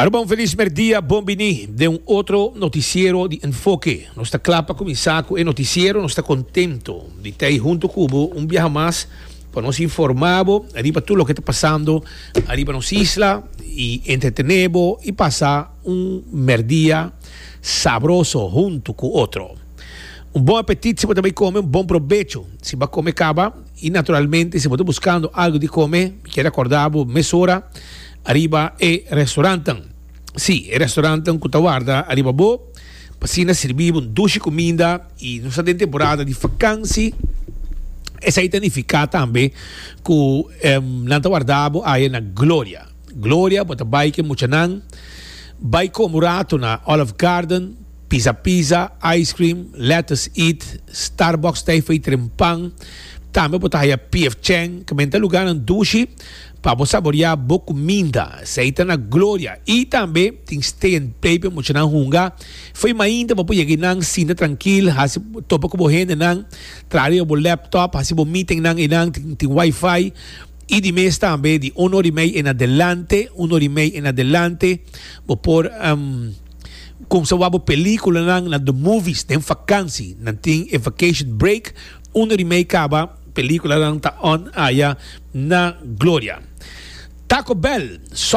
Aruba un felis merdia, bon bini den un otro noticiero di Enfoke. Nos ta kla pa kuminsá ku e noticiero, nos ta kontento di ta ei hunto ku bo un biaha mas pa nos informá bo riba tur loke ta pasando ariba nos isla i entretené bo i pasa un merdia sabroso hunto ku otro. Un bon apetit si bo ta bai kome, un bon probecho si bo a kome kaba i naturalmente si bo ta buskando algu di kome mi kier akordá bo mesora Ariba e restaurantnan. Sí, e restaurantnan ku ta warda ariba bo pa asina sirbi bo un dushi kuminda i nos ta den temporada di fakansi. Esei ta nifiká tambe ku nan ta warda bo aya na Gloria. Gloria bo ta bai ku e muchanan bai kome un ratu na Olive Garden, Pizza Pizza, Ice Cream, Lettuce Eat, Starbucks ta ei trempan. Tambe bo ta haya PF Chang, ku menta lugánan dushi. Pa bo saboreá bo kuminda, esei ta na Gloria. I tambe tin stay and play pa e muchanan hunga. Fo'i mainta bo por yega einan, sinta trankil, hasi topa ku bo hendenan, traha riba bo laptop, hasi bo meetingnan einan, tin wifi. I di mes tambe di un ora i mei en adelante, un ora i mei en adelante, bo por kumsa wak bo pelikulanan na The Movies den fakansi. Nan tin e vacation break, un ora i mei kaba. Peliculanan ta on aya na Gloria. Taco Bell.